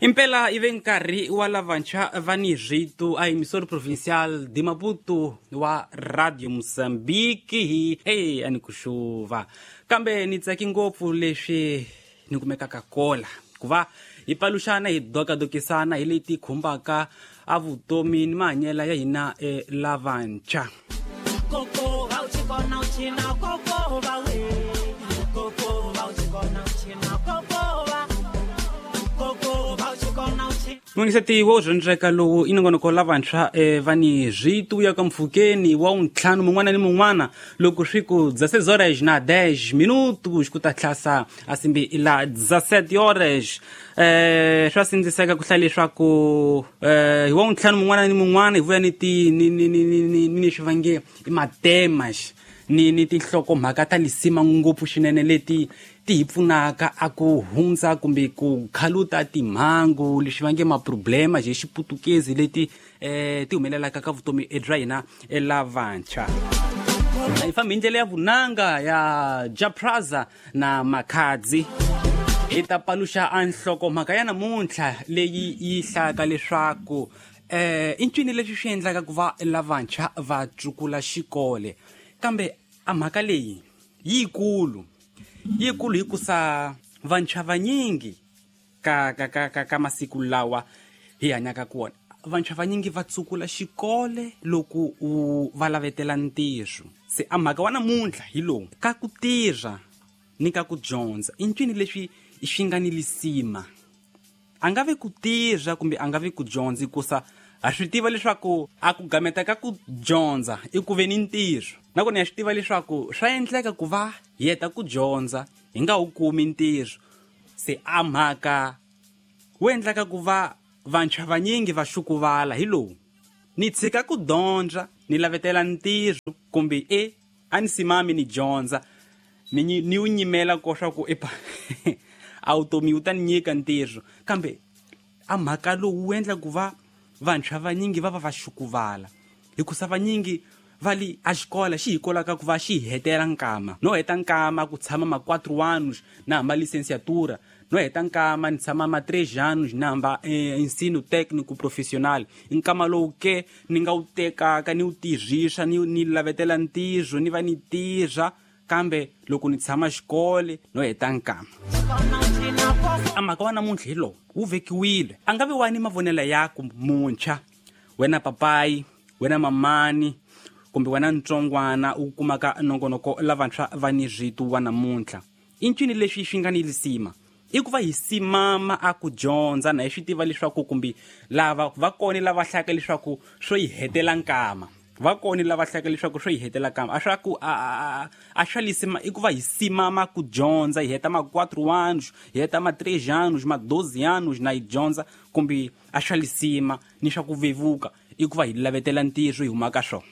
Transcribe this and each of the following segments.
Impela ive nkarhi wa lavantshwa va ni rito a emissora provincial de Maputo wa Radio Mozambique hi e a ni ku xuva kambe ni tsaki ngopfu leswi ni kumekaka kola ku va hi paluxana hi dokadokisana hi leti khumbaka a vutomi ni mahanyelo ya hina e lavantshwa. Mungiseti wo dyondzeka lowu i nongonoko lavantshwa va ni rito ya ka mpfhukeni wa wuntlhanu mun'wana ni mun'wana loko swi ku 16 horas na 10 minutos ku ta tlhasa a simbi la 17 horas. Swa sindziseka ku hlaya leswaku hi wa wuntlhanu mun'wana ni mun'wana hi vuya ni ti ni ni ni ni ni leswi va nge i matemas ni tinhlokomhaka ta lisima ngopfu swinene leti ti hi pfunaka a ku hundza kumbe ku khaluta timhangu leswi va nge maproblema hi xiputukezi leti ti humelelaka ka vutomi bya hina lavantshwa. Hi fambi hi ndlela ya vunanga ya Japraza na Makhadzi hi ta paluxa a nhlokomhaka ya namuntlha leyi yi hlayaka leswaku i ncini leswi swi endlaka ku va lavantshwa va tsukula xikole, kambe a mhaka leyi yikulu yikulu hikusa vantshwa vanyingi ka ka ka ka ka masiku lawa hi hanyaka kona vantshwa vanyingi va tsukula xikole loko u va lavetela ntirho. Se a mhaka wa namuntlha hi lowu ka ku tirha ni ka ku dyondza i ncini leswi swi nga ni lisima, a nga vi ku tirha kumbe a nga vi ku dyondza, hikusa ha swi tiva leswaku a ku gameta ka ku dyondza i ku ve ni ntirho, nakona ya swi tiva leswaku swa endleka ku va hi heta ku dyondza hi nga wu kumi ntirho. Se a mhaka wu endlaka ku va vantshwa vanyingi va xukuvala hi lowu ni tshika ku dyondza ni lavetela ntirho kumbe e a ni simami ni dyondza ni wu nyimela ko swa ku epa a vutomi wu ta ni nyika ntirho, kambe a mhaka lowu wu endla ku va vantshwa vanyingi va va va xukuvala hikusa vanyingi va li a xikola xi hi kolaka ku va xi hi hetela nkama no heta nkama ku tshama ma 4 anos na hamba licenciatura no heta nkama ni tshama ma 3 anos na hamba ensino técnico profissional, nkama lowu ke ni nga wu tekaka ni wu tirhisa ni lavetela ntirho ni va ni tirha, kambe loko ni tshama xikole no heta nkama. A mhaka wa namuntlha hi lowu wu vekiwile a nga vi wani mavonelo ya ku muntshwa wena papayi wena mamani kumbe wena ntsongwana u kumaka nongonoko lavantshwa va ni rito wa namuntlha i ncini leswi swi nga ni lisima i ku va hi simama a ku dyondza na hi swi tiva leswaku kumbe lava va kona lava hlayaka leswaku swo yi hetela nkama va kona lava hlayaka leswaku swo yi hetela nkama a swa ku a swa lisima i ku va hi simama ku dyondza hi heta ma 4 anos hi heta ma 3 anos ma 12 anos na hi dyondza kumbe a swa lisima ni swa ku vevuka i ku va hi lavetela ntirho hi huma ka swona.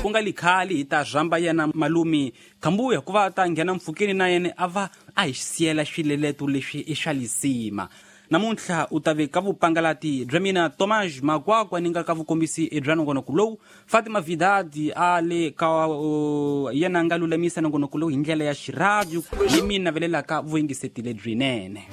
Ku nga li khali hi ta rhamba yena malume Khambuya ku va ta nghena mpfhukeni na yena a va a hi siyela swileleto leswi i swa lisima. Namuntlha u ta ve ka vupangalati bya mina Tomás Makwakwa ni nga ka vukombisi bya nongonoko lowu Fatima Vidadi a le ka yena a nga lulamisa nongonoko lowu hi ndlela ya xirhadio ni mi navelelaka vuyingiseti lebyinene.